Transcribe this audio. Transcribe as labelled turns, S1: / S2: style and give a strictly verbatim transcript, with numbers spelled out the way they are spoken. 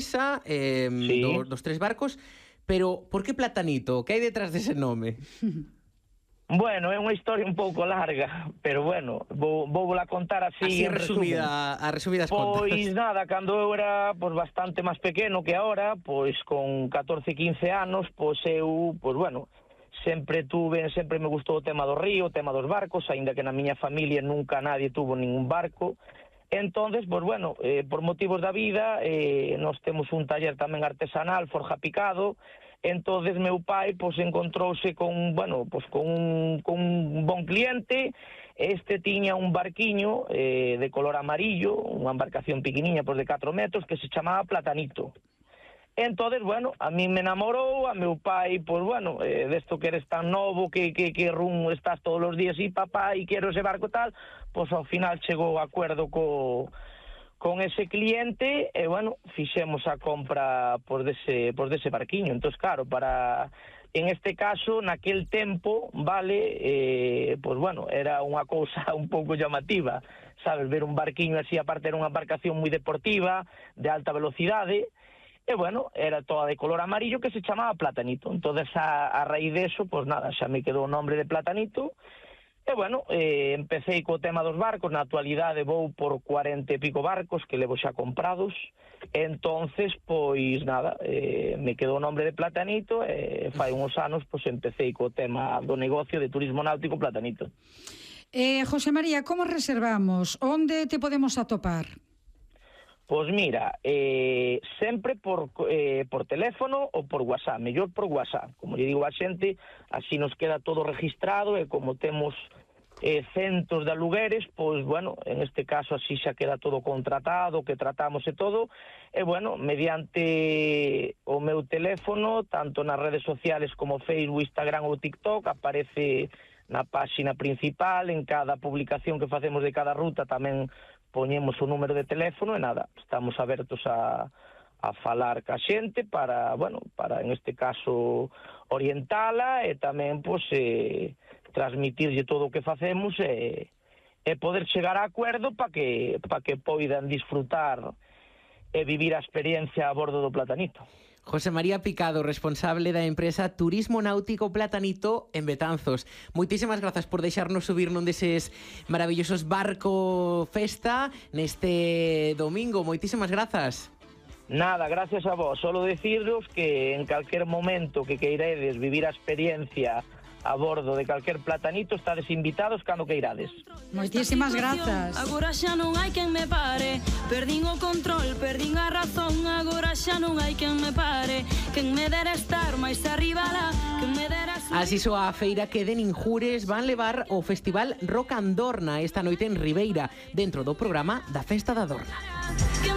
S1: empresa, eh,
S2: Sí.
S1: do, dos tres barcos, pero por que Platanito? Que hai detrás dese nome?
S2: Bueno, é unha historia un pouco larga, pero bueno, vou, vou la contar así,
S1: Así
S2: en resumen.
S1: resumida, a resumidas
S2: Pois
S1: contas.
S2: nada, cando eu era pois, bastante máis pequeno que ahora, pois con catorce, quince anos, pois eu, pois bueno, sempre tuve, sempre me gustou o tema do río, o tema dos barcos, aínda que na miña familia nunca nadie tuvo ningún barco. Entonces, pois bueno, eh, por motivos da vida, eh, nós temos un taller tamén artesanal, forja picado. Entonces meu pai pois encontrouse con, bueno, pois con un, con un bon cliente. Este tiña un barquiño eh, de color amarillo, unha embarcación pequeniña pois de catro metros que se chamaba Platanito. Entonces, bueno, a mí me enamorou, a meu pai, pois bueno, eh, desto que eres tan novo, que, que, que rum estás todos os días e papá, e quero ese barco tal, pois ao final chegou a acuerdo co con ese cliente e, bueno, fixemos a compra por dese, por dese barquiño. Entón, claro, para, en este caso, naquel tempo, vale, eh, pois, bueno, era unha cousa un pouco llamativa, sabes, ver un barquiño así, aparte era unha embarcación moi deportiva, de alta velocidade, e, bueno, era toda de color amarillo que se chamaba Platanito. Entón, a, a raíz de eso, pois nada, xa me quedou o nombre de Platanito. E, bueno, eh, empecé co tema dos barcos, na actualidade vou por cuarenta e pico barcos que levo xa comprados, entonces, pois, nada, eh, me quedou o nombre de Platanito e fai uns anos, pois, empecé co tema do negocio de turismo náutico Platanito.
S3: Eh, José María, como reservamos? Onde te podemos atopar?
S2: Pois mira, eh, sempre por, eh, por teléfono ou por WhatsApp, mellor por WhatsApp, como lle digo a xente, así nos queda todo registrado e como temos eh, centos de alugueres, pois, bueno, en este caso así xa queda todo contratado, que tratamos e todo, e, bueno, mediante o meu teléfono, tanto nas redes sociales como Facebook, Instagram ou TikTok, aparece na páxina principal, en cada publicación que facemos de cada ruta tamén poñemos o número de teléfono e nada, estamos abertos a, a falar ca xente para, bueno, para en este caso orientala e tamén, pois, eh, transmitirlle todo o que facemos e, e poder chegar a acuerdo para que, pa que poidan disfrutar e vivir a experiencia a bordo do Platanito.
S1: José María Picado, responsable da empresa Turismo Náutico Platanito en Betanzos. Moitísimas grazas por deixarnos subir nun deses maravillosos barco festa neste domingo. Moitísimas grazas.
S2: Nada, gracias a vos. Solo deciros que en calquer momento que queiredes vivir a experiencia a bordo de calquer Platanito, estades invitados cando queirades.
S3: Moitísimas grazas.
S4: Agora xa non hai quen me pare, perdín o control, perdín a razón, agora xa non hai quen me pare, quen me dera estar máis arriba lá, quen me dera...
S1: Así soa a feira que de Ninjures van levar o Festival Rock Andorna esta noite en Ribeira, dentro do programa da Festa da Dorna.